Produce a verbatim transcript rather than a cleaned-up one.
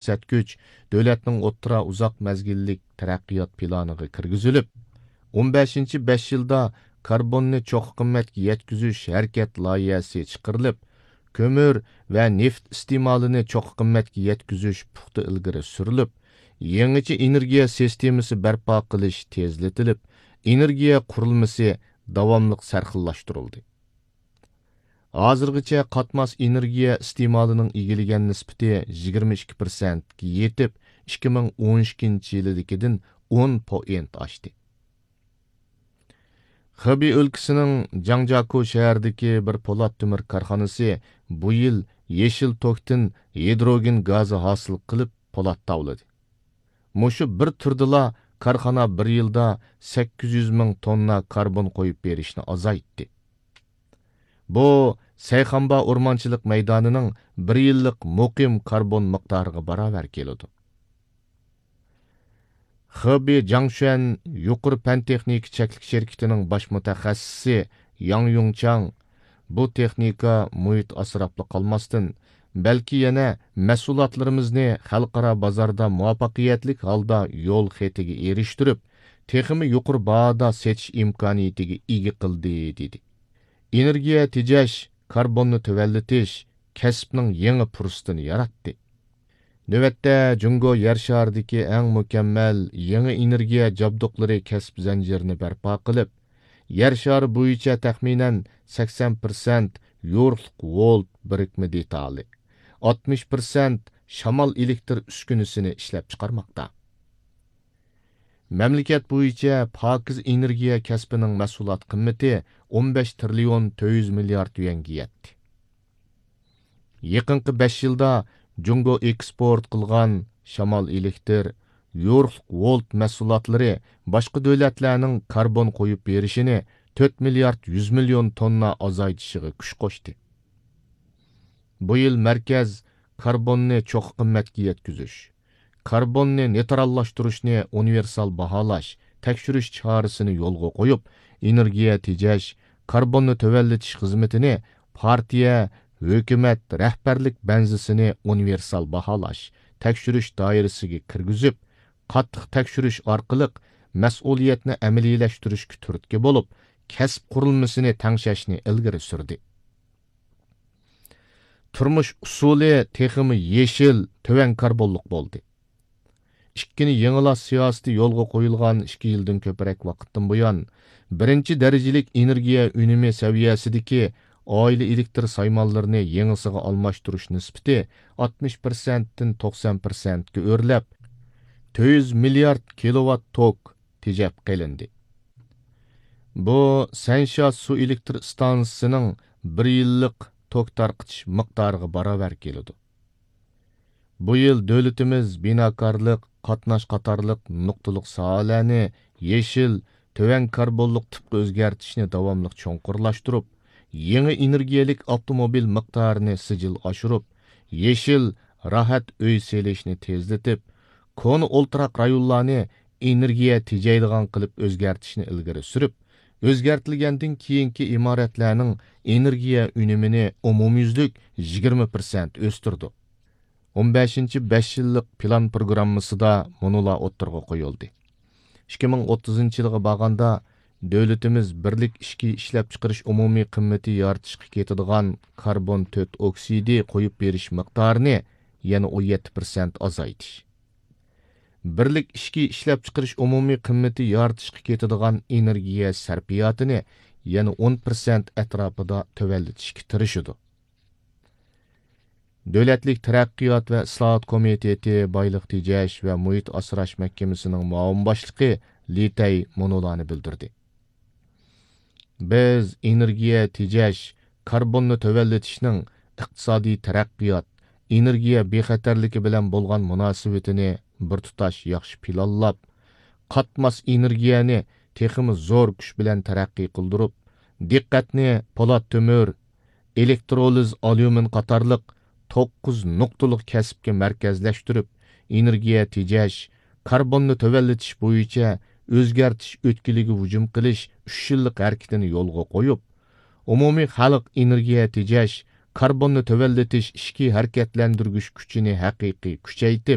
كۆرسەتكۈچ دۆلەتنىڭ ئوتتۇرا ئۇزاق مەزگىللىك تەرەققىيات پىلانىغا كىرگۈزۈلۈپ، ئون بەشىنچى بەش يىلدا كاربوننى چوققا قىممەتكە يەتكۈزۈش ھەرىكەت لايىھەسى چىقىرىلىپ، كۆمۈر ۋە نېفىت ئىستېمالىنى چوققا قىممەتكە يەتكۈزۈش پۇختا ئىلگىرى سۈرۈلۈپ، يېڭىچە ئېنېرگىيە سىستېمىسى بەرپا قىلىش تېزلىتىلىپ، ئېنېرگىيە قۇرۇلمىسى داۋاملىق سەرخىللاشتۇرۇلدى. ھازىرغىچە قاتماس ئېنېرگىيە ئىستېمالىنىڭ ئىگىلىگەن نىسبىتى يىگىرمە ئىككى پىرسەنتكە يېتىپ، ئىككى مىڭ ئون ئىككىنچى يىلىدىكىدىن ئون پوئىنت ئاشتى. خېبېي ئۆلكىسىنىڭ جاڭجياكۇ شەھىرىدىكى بىر پولات تۆمۈر كارخانىسى بۇ يىل يېشىل توكتىن ھىدروگېن گازى ھاسىل قىلىپ، پولات تاۋلىدى. مۇشۇ بىر تۈردىلا كارخانا بىر يىلدا سەككىز يۈز مىڭ توننا كاربون قويۇپ بېرىشنى ئازايتتى. بۇ سەيخانبا ئورمانچىلىق مەيدانىنىڭ بىر يىللىق مۇقىم كاربون مىقدارىغا باراۋەر كېلىدۇ. خېبېي جاڭشۈەن يۇقىرى پەن تېخنىكا چەكلىك شىركىتىنىڭ باش مۇتەخەسسىسى ياڭ يۇڭچاڭ بۇ تېخنىكا مۇھىت ئاسراپلا قالماستىن، بەلكى يەنە مەھسۇلاتلىرىمىزنى خەلقئارا بازاردا مۇۋەپپەقىيەتلىك ھالدا يول خېتىگە ئېرىشتۈرۈپ، تېخىمۇ يۇقىرى باھادا سېتىش ئىمكانىيىتىگە ئىگە قىلدى، دېدى. ئېنېرگىيە تېجەش، كاربوننى تۆۋەنلىتىش كەسىپنىڭ يېڭى پۇرسىتىنى ياراتتى. نۆۋەتتە، جۇڭگو يەر شارىدىكى ئەڭ مۇكەممەل يېڭى ئېنېرگىيە جابدۇقلىرى كەسىپ زەنجىرىنى بەرپا قىلىپ، يەر شارى بويىچە تەخمىنەن سەكسەن پىرسەنت يورۇقلۇق ۋولت بىرىكمە دېتالى، ئاتمىش پىرسەنت شامال ئېلېكتر ئۈسكۈنىسىنى ئىشلەپچىقارماقتا. مەملىكەت بويىچە پاكىز ئېنېرگىيە كەسپىنىڭ مەھسۇلات قىممىتى ئون بەش تىرىليون تۆت يۈز مىليارد يۈەنگە يەتتى. يېقىنقى بەش يىلدا جۇڭگو ئېكسپورت قىلغان شامال ئېلېكتر، يورۇقلۇق ۋولت مەھسۇلاتلىرى باشقا دۆلەتلەرنىڭ كاربون قويۇپ بېرىشىنى تۆت مىليارد يۈز مىليون توننا ئازايتىشىغا كۈچ قوشتى. بۇ يىل مەركەز كاربوننى چوققا قىممەتكە يەتكۈزۈش، كاربوننى نېيتراللاشتۇرۇشنى ئۇنىۋېرسال باھالاش، تەكشۈرۈش چارىسىنى يولغا قويۇپ، ئېنېرگىيە تېجەش، كاربوننى تۆۋەنلىتىش خىزمىتىنى پارتىيە، ھۆكۈمەت رەھبەرلىك بەنزىسىنى ئۇنىۋېرسال باھالاش، تەكشۈرۈش دائىرىسىگە كىرگۈزۈپ، قاتتىق تەكشۈرۈش ئارقىلىق مەسئۇلىيەتنى ئەمەلىيلەشتۈرۈشكە تۈرتكە بولۇپ، كەسىپ قۇرۇلمىسىنى تەڭشەشنى ئىلگىرى سۈردى. تۇرمۇش ئۇسۇلى تېخىمۇ يېشىل، تۆۋەن كاربونلۇق بولدى. ئىككىنى يېڭىلاش سىياسىتى يولغا قويۇلغان ئىككى يىلدىن كۆپرەك ۋاقىتتىن بۇيان، بىرىنچى دەرىجىلىك ئېنېرگىيە ئۈنۈمى سەۋىيەسىدىكى ئائىلە ئېلېكتر سايمانلىرىنى يېڭىسىغا ئالماشتۇرۇش نىسبىتى ئاتمىش پىرسەنتتىن توقسان پىرسەنتكە ئۆرلەپ، تۆت يۈز مىليارد كىلوۋات توك تېجەپ قېلىندى. بۇ سەنشيا سۇ ئېلېكتر ئىستانسىسىنىڭ بىر يىللىق توك تارقىتىش مىقدارىغا باراۋەر كېلىدۇ. بۇ يىل دۆلىتىمىز بىناكارلىق، قاتناش قاتارلىق نۇقتىلىق ساھەلەرنى يېشىل، تۆۋەن كاربونلۇق تىپقا ئۆزگەرتىشنى داۋاملىق چوڭقۇرلاشتۇرۇپ، يېڭى ئېنېرگىيەلىك ئاپتوموبىل مىقدارىنى سىجىل ئاشۇرۇپ، يېشىل، راھەت ئۆي سېلىشنى تېزلىتىپ، كونا ئولتۇراق رايونلارنى ئېنېرگىيە تېجەيدىغان قىلىپ ئۆزگەرتىشنى ئىلگىرى سۈرۈپ، ئۆزگەرتىلگەندىن كېيىنكى ئىمارەتلەرنىڭ ئېنېرگىيە ئۈنۈمىنى ئومۇميۈزلۈك يىگىرمە پىرسەنت ئۆستۈردۇق. ئون بەشىنچى بەش يىللىق پىلان پروگراممىسىدا مۇنۇلار ئوتتۇرىغا قويۇلدى. ئىككى مىڭ ئوتتۇزىنچى يىلغا بارغاندا، دۆلىتىمىز بىرلىك ئىچكى ئىشلەپچىقىرىش ئومۇمىي قىممىتى يارىتىشقا كېتىدىغان كاربون تۆت ئوكسىدى قويۇپ بېرىش مىقدارىنى يەنە ئون يەتتە پىرسەنت ئازايتىش، بىرلىك ئىچكى ئىشلەپچىقىرىش ئومۇمىي قىممىتى يارىتىشقا كېتىدىغان ئېنېرگىيە سەرپىياتىنى يەنە ئون پىرسەنت ئەتراپىدا تۆۋەنلىتىشكە تىرىشىدۇ. دۆلەتلىك تەرەققىيات ۋە ئىسلاھات كومىتېتى بايلىق تېجەش ۋە مۇھىت ئاسراش مەھكىمىسىنىڭ مۇئاۋىن باشلىقى لى تەي مۇنۇلارنى بىلدۈردى. بىز ئېنېرگىيە تېجەش، كاربوننى تۆۋەنلىتىشنىڭ ئىقتىسادىي تەرەققىيات، ئېنېرگىيە بىخەتەرلىكى بىلەن بولغان مۇناسىۋىتىنى بىر تۇتاش ياخشى پىلانلاپ، قاتماس ئېنېرگىيەنى تېخىمۇ زور كۈچ بىلەن تەرەققىي قىلدۇرۇپ، دىققەتنى پولات تۆمۈر، ئېلېكترولىز ئاليۇمىن قاتارلىق توققۇز نۇقتىلىق كەسىپكە مەركەزلەشتۈرۈپ، ئېنېرگىيە تېجەش، كاربوننى تۆۋەنلىتىش بويىچە ئۆزگەرتىش ئۆتكىلىگە ھۇجۇم قىلىش ئۈچ يىللىق ھەرىكىتىنى يولغا قويۇپ، ئومۇمىي خەلق ئېنېرگىيە تېجەش، كاربوننى تۆۋەنلىتىش ئىچكى ھەرىكەتلەندۈرگۈچ كۈچىنى ھەقىقىي كۈچەيتىپ،